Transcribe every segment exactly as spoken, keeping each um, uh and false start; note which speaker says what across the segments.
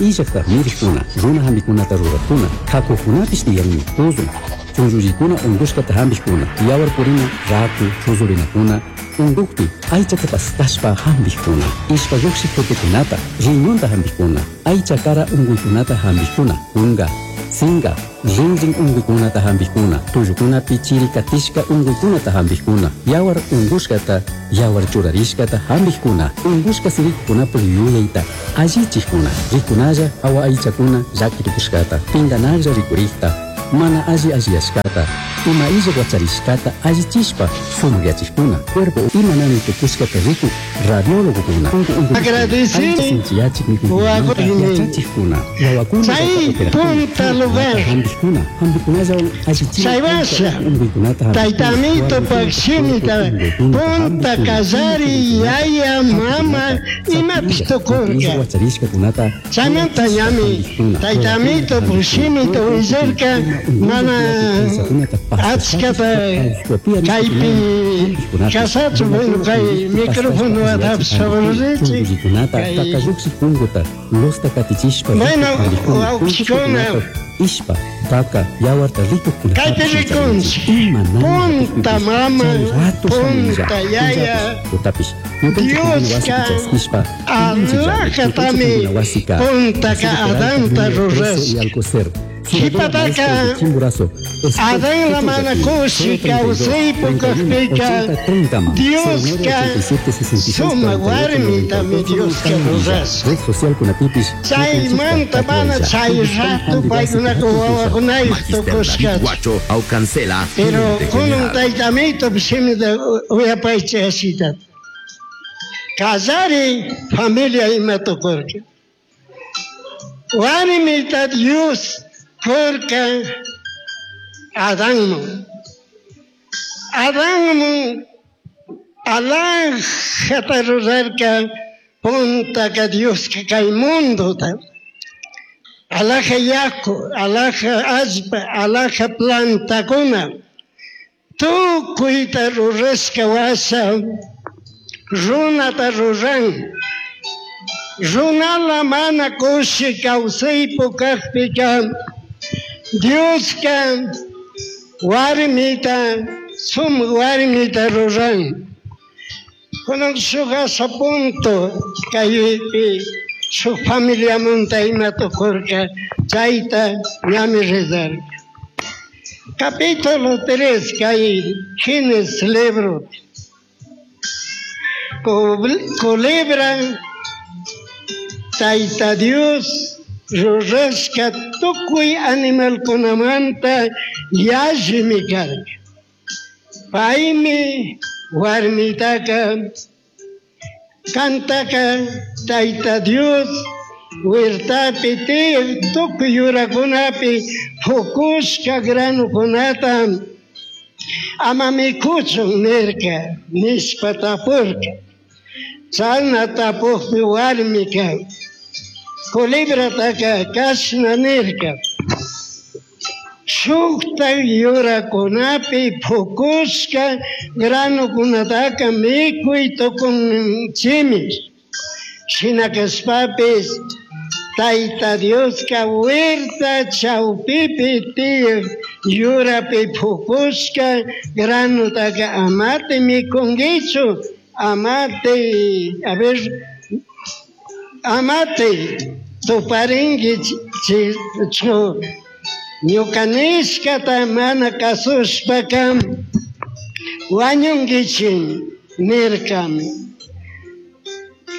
Speaker 1: illakta mirikuna, runa hampikunata rurakuna, kakukunapish tiyanmi, tuzun, chunllullikuna unkushkata hampikuna, yawar purina, raku, chuzurinakuna, unkukpi aychata pastashpa hampikuna, ishpa llukshik tutukunata, riñonta hampikuna, aycha kara unkuykunata hampikuna, kunka, sinka, rinrin unkuykunata hampikuna, tullukunapi chiri katishka unkuykunata hampikuna, yawar unkushkata, yawar churarishkata hampikuna, unkushka sirikukunapuk yuyayta allichikuna, rikunalla hawa aychakuna llakitukushkata, pinkanaklla rikurikta, mana alli alliyashkata, ima illak wacharishkata allichishpa sumakyachikuna, cuerpo ima nanay tukushkata rikuk radiólogokuna, unku unkuykuna,
Speaker 2: Agradecini
Speaker 1: aycha sinchiyachik mikuykunamanta
Speaker 2: wawakuni.
Speaker 1: yachachikuna, wawakuna
Speaker 2: Chay punta lugar.
Speaker 1: hampikuna, hampikunallawan allichina
Speaker 2: Chay washa,
Speaker 1: unkuykunata hampikuna,
Speaker 2: Tayta Amito
Speaker 1: warmikuna
Speaker 2: shimita
Speaker 1: unkuykunata
Speaker 2: punta
Speaker 1: hampikuna,
Speaker 2: kallari yaya mama imapish tukurka.
Speaker 1: wacharishkakunata
Speaker 2: Chaymanta ñami Tayta Amito shimita willarka mana achkata kaypi kasachun, bueno, kay microfonota favorecechik.
Speaker 1: Chungukunata
Speaker 2: Kay-
Speaker 1: takalluksik punguta lusta katichishpa
Speaker 2: Bueno,
Speaker 1: rikuk hampikuna,
Speaker 2: wawqikuna.
Speaker 1: ishpa taka yawarta rikukkunatapish
Speaker 2: Kaypi rikunchik.
Speaker 1: ima nanay
Speaker 2: Punta
Speaker 1: katikpipish,
Speaker 2: mama,
Speaker 1: chay rato
Speaker 2: punta
Speaker 1: shamunlla,
Speaker 2: yaya,
Speaker 1: tutapish ñukanchik
Speaker 2: Dioska
Speaker 1: wasipi chaskishpa
Speaker 2: alajatami puntaka Adanta rurashka. Qhipataka Adán mana kushi kawsaypuk kajpika Dioska sumak warmitami Dioska rurashka.
Speaker 1: Red social kunapipish
Speaker 2: Chaymanta mana chay rato paykunaka wawakunayuq
Speaker 3: Magister David
Speaker 2: tukushkachu.
Speaker 3: Guacho Aucancela,
Speaker 2: Pero
Speaker 3: gerente
Speaker 2: kunan
Speaker 3: general.
Speaker 2: Tayta Amito shimita uyapaychik ashitata. Kallari familia ima tukurka. Warmita Dios kurka Adanman. Adanman alajata rurarka puntaka Dioska kay mundota. Alaja yaku, alaja allpa, alaja plantakuna. Tukuyta rurashka washa runata ruran. Runala mana kushi kawsaypuk kajpika Dioska warmita sumak warmita ruran. Kunan shuk asha punto kaypi shuk familiamanta ima tukurka chayta ñami rezarka. Capítulo tres kay Génesis libro. Culebra Tayta Dios rurashka tukuy animalkunamanta yallimi karka. Paymi warmitaka kantaka Tayta Dios huertapi tiyak tukuy yurakunapi fukushka granukunata ama mikuchun nirka nishpa tapurka. Chayna tapukpi warmika culebrataka kashna nirka. Shukta yurakunapi fukushka granukunataka mikuy tukunchimi. Shina kashpapis Tayta Dioska huerta chawpipi tiyak yurapi fukushka granutaka amate mikunkichu, amate, a ver, amate tuparinki chu. Ñuka nishkata mana kasushpaka wañunkichik nirkami.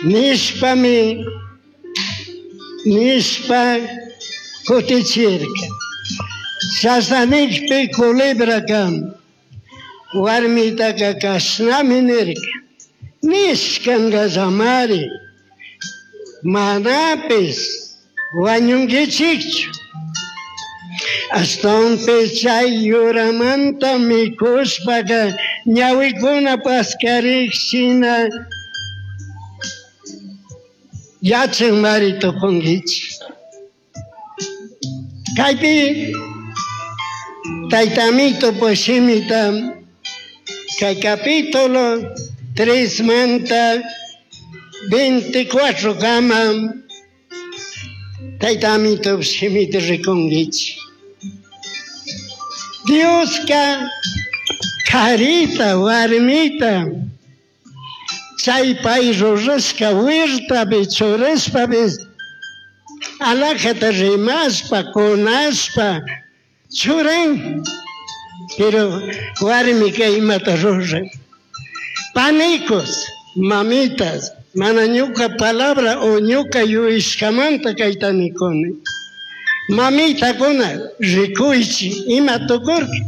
Speaker 2: Nishpami nishpa kutichirka. Chashna nikpi culebraka warmitaka kashnami nirka. Nishkankallamari manapis wañunkichikchu. Ashtawanpish chay yuramanta mikushpaka ñawikuna paskarik shina yachanmari tukunkichik. Kaypi Tayta Amito shimita kay capítulo tres manta veinticuatro kama Tayta amito shimita rikunkichik. Dioska karita, warmita, chay pay rurashka huertapi churashpapish alajata rimashpa, kunashpa churan. Pero warmika imata ruran. Panicos, mamitas, mana ñuka palabra o ñuka yuyashkamanta kayta nikuni. Mamitakuna rikuychik ima tukurka.